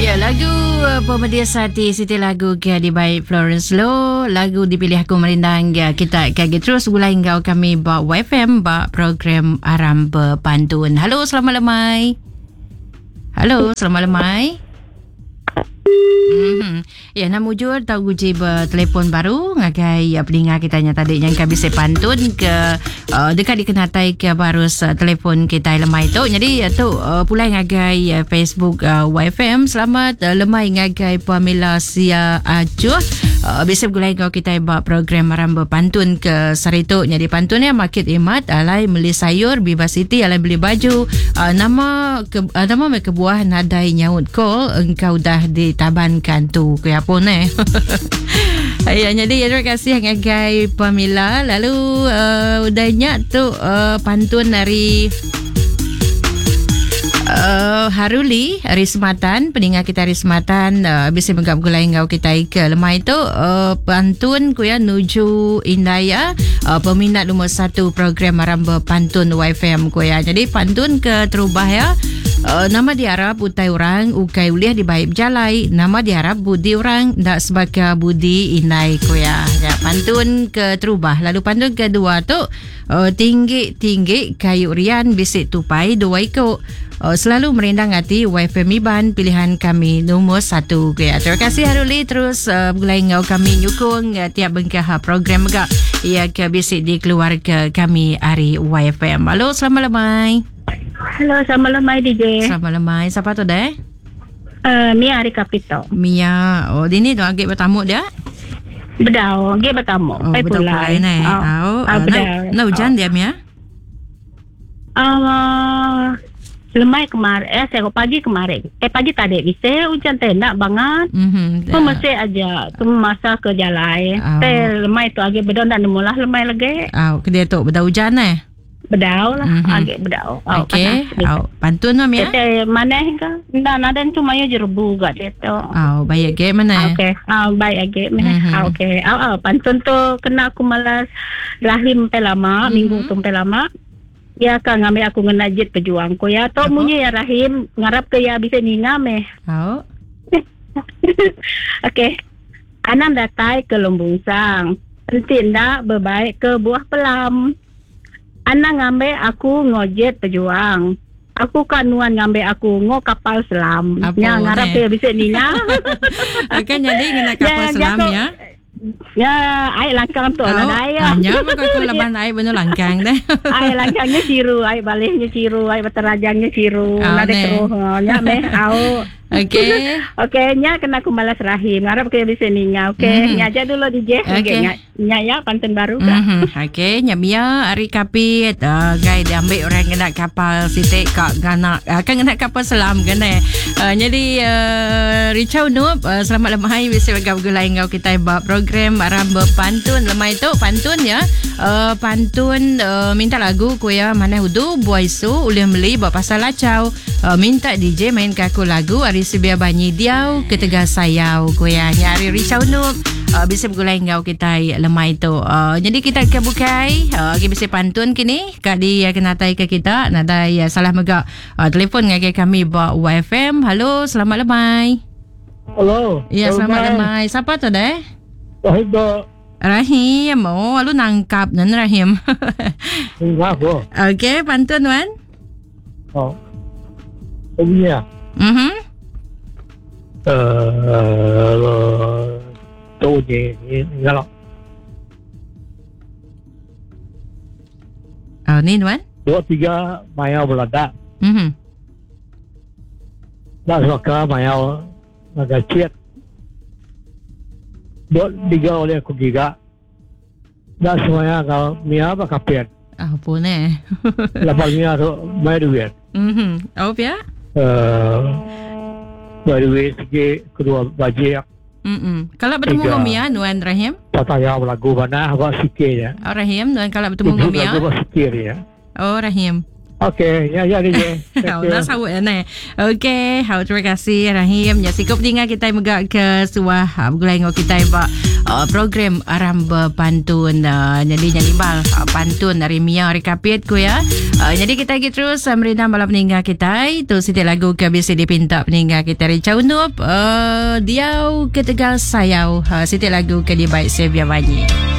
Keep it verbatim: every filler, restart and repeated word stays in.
Ya, lagu uh, Pemedis Hati Siti lagu ke dibaik Florence Lo, lagu dipilih aku merindang ya, kita kagi terus gulai enggau kami ba Y F M ba program Aram Berpantun. Halo, selamat lemai. Halo, selamat lemai. Mm-hmm. Ya, nak mujur tau uji bertelefon baru ngagai ya, peninga kita nya tadi yang kami bisa pantun ke uh, dekat dikenatai ke baru uh, telefon kita lemai tu. Jadi uh, tu uh, pulai ngagai uh, Facebook uh, Y F M. Selamat uh, lemai ngagai Pamela Sia Acuh. Uh, bisa bergulai kau kita buat program Aram Berpantun ke saritu. Jadi pantunnya market imat alai beli sayur bebas city alai beli baju. Uh, nama ke, uh, nama mereka buah nadai nyaut call engkau dah ditabankan tu ke apa ni. Ya, jadi terima kasih ngagai Pamela. Lalu uh, udahnya tu uh, pantun dari Uh, Haruli hari Sematan, peningat kita hari Sematan uh, bisa menggap gulai ngau kita ke lemai tu uh, pantun ku ya nuju Indaya uh, peminat nombor satu program Aram Berpantun Y F M ku ya. Jadi pantun ke terubah ya. Uh, nama diharap utai orang ukai uliah dibaik berjalai, nama diharap budi orang ndak sebagai budi indai ku ya. Ya, pantun ke terubah. Lalu pantun kedua tu uh, tinggi-tinggi kayu rian bisik tupai dua ikut. Uh, selalu merindang hati Y F M Iban pilihan kami nombor satu. Ya, terima kasih Haruli terus uh, bergulai ngau kami nyukung uh, tiap bengkah program juga ya ke bisik di keluarga kami hari Y F M. Halo, selamat lemai. Halo, selamat lemai D J. Selamat lemai. Siapa tu deh? Uh, Mia Ari Kapito. Mia. Oh, dia ni tu agak bertamu dia? Bedau, dia bertamu. Oh, bedau pulai ni. Oh, oh. Bedau. Nak hujan dia Mia? Uh, lemai kemarin, eh saya pagi kemarin. Eh pagi tadi bisa hujan tenak banget. Mhm. Mm-hmm. Mesti aja tu masa ke jalan. Oh. Teh lemai tu agak bedau nak nemulah lemai lagi. Oh, ke dia tu bedau hujan eh? Bedau lah, mm-hmm. agak bedau. Oh, okey. Oh, pantun lah Mia. Teh mana ke? Ndak nada tu mayo jerebu gak dia tu. Oh, baik ke mana? Okey. Ah, oh, baik agak mana? Mm-hmm. Ah, okey. Oh, oh, pantun tu kena aku malas rahim pe lama, mm-hmm. minggu tu pe lama. Ya kan ngambil aku ngena jet pejuang ko ya. Tok munyi ya Rahim ngarap ke ya bisa ninga meh. Oh. Okey. Anang datai ke Lumbung Sang. Enti ndak berbaik ke buah pelam. Anang ngambil aku ngojet pejuang. Aku kan nuan ngambil aku ngo kapal selam. Apa Ya ngarap ke bisa ninga. Akan jadi ngena kapal ya, selam jatuh, ya. Ya, air langkang tu oh, lah ya. Hanya maka aku laban air benar langkang deh. Air langkangnya siru, air baliknya siru, air baterajangnya siru. Oh, Nade keruh. Nya meh au. Okey. Okey, nya kena aku malas rahim. Ngarap ke bisa ninga. Okey, mm-hmm. nya aja dulu D J. Okey. Okay. Nya, nya ya pantun baru kah? Mm-hmm. Okey, nya Mia ari kapit uh, gai diambil orang kena kapal sitik kak gana uh, kan kena kapal selam kan eh. Uh, jadi uh, Richard Noob uh, selamat lemai bisa bergabung ngau kita bab program Aram Berpantun lemai tu pantun ya. Uh, pantun uh, minta lagu ku ya mana hudu buai su ulih beli buat pasal lacau. Uh, minta D J main ke aku lagu ari Sibia Banyi Diau Ketegal Sayau ku ya. Nyari Richard Noob uh, bisa bergulai ngau kita lemai tu. Uh, jadi kita ke bukai uh, kita bisa pantun kini kak di uh, kenatai ke kita nadai uh, salah megak uh, telefon ngagai kami buat Y F M. Halo, selamat lemai. Halo. Ya, selamat lemai. Siapa tu deh? Rahim tu. Rahim. Oh, lu nangkap nan Rahim. Kenapa? Okey, pantun wan. Oh. Oh ya. Mhm. Uh, tu ni ni kalau. Oh, ni wan. Dua tiga maya belada. Mhm. Dah suka maya agak ciat. Dua tiga oleh aku giga. Dah semuanya kalau mia apa kapian. Ah, apa ni? Lepas mia tu maya duit. Mhm. Oh, ya. Eh, maya duit sikit kedua bajik. Mhm. Kalau bertemu dengan Mia, Nuan Rahim? Tak tahu lagu mana, buat sikit ya. Oh, Rahim, Nuan kalau bertemu dengan Mia. Lagu buat sikit ya. Oh, Rahim. Okey, ya ya D J. Thank you. Dah sahut ya ni. Okey, hau terima kasih Rahim. Ya sikup tinggal kita megak ke suah begulai ngau kita ba uh, program Aram Berpantun. Uh, jadi yang imbal uh, pantun dari Mia Rekapit ku ya. Uh, jadi kita lagi terus uh, merindam malam peninggal kita. Itu siti lagu ke B C D pinta peninggal kita dari Caunup uh, Diau Ketegal Sayau. Uh, siti lagu ke di baik Sevia Banyi.